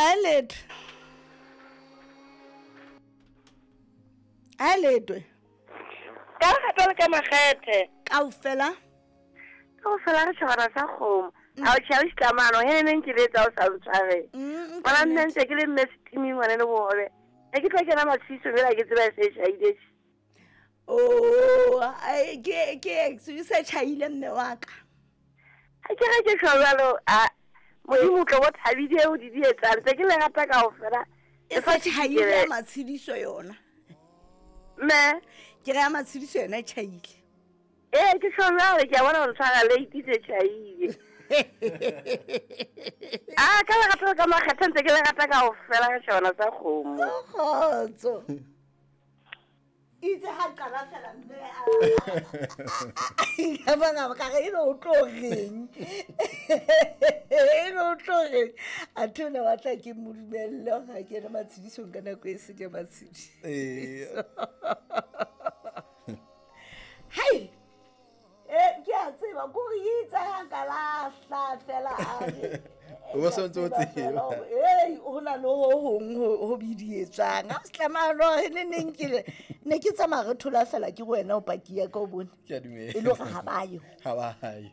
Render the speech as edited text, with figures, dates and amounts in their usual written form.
A letho, a letwe. Ka lekgetho le ka makgethe. Kaofela. Kaofela re tšhabana sa kgomo. A o tšha o tlamano he neng ke letsa o sa ntshware. Ngwana nne ntse ke le mme setiming ngwane le bohobe. E ke tla kena matshiso fela ke tseba se tšhaile. Oh, ke ke se tšhaile mme wa ka. Ha ke re ke tjho jwalo, a Modimo tlo bo thabile o di di etsang tse ke le rata kaofela. E se tšhaile ya matshediso yona. Mme ke re ya matshediso yona e tšhaile. Ee, ke tjho jwalo, ke a bona gore tshwara late se tšhaile. A ka lerato ka makgetha ntse ke le rata kaofela ka tjhabana sa kgomo. Kgotso. Itse ha qala fela mme a bona ka re e le o tlo reng, e le o tlo reng, a the o ne batla ke mo dumelle ga ke ene matshedisong ka nako e se ke matshediso. Hai, e ke a tseba kore itse ga ka lahla fela a re O bo sontse o tseba. Ei, ho na le ho hong ho bidietswang a se tlamahalo e ne neng ke ne ke tsamaya re thola fela ke wena o paki ya ka o bone. Ke a dumela. E le hore ha ba yo. Ha ba yo.